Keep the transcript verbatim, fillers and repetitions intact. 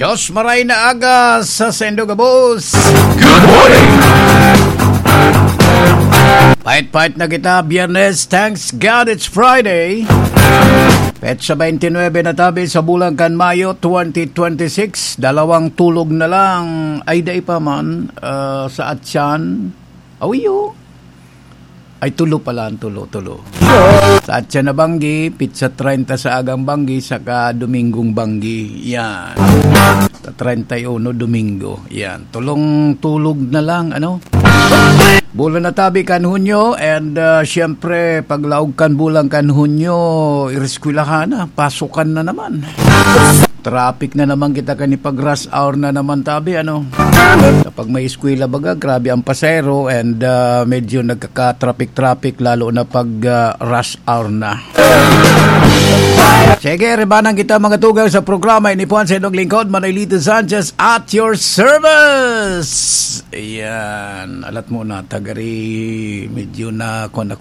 Diyos maray na aga sa saindo gabos. Good morning! Pait-pait na kita, Biyernes. Thanks God it's Friday. Petsa twenty-nine na tabi sa bulan kan Mayo twenty twenty-six. Dalawang tulog na lang. Ay, dai pa man. Ah, sa Atyan. Awiyo. Ay, tulo pala ang tulo, tulo. Sa Atyan na banggi, pitsa treinta sa agang banggi, saka Domingong banggi. Yan. Sa treinta y uno, Domingo. Yan. Tulong tulog na lang, ano? Bulan na tabi kan Hunyo, and, ah, siyempre, paglaog kan bulan kan Hunyo, ireskwelahan na, pasukan na naman. Traffic na naman kita kan pag rush hour na naman tabi, ano? Kapag may eskwela baga, grabe ang pasero and, ah, medyo nagkaka-traffic-traffic lalo na pag, ah, rush hour na. Sige, ribanan kita mga tugang sa programa. Ini po ang sa inyong lingkod, Manolito Sanchez at your service. Ayan, alat mo na, tagari, medyo na, kung ako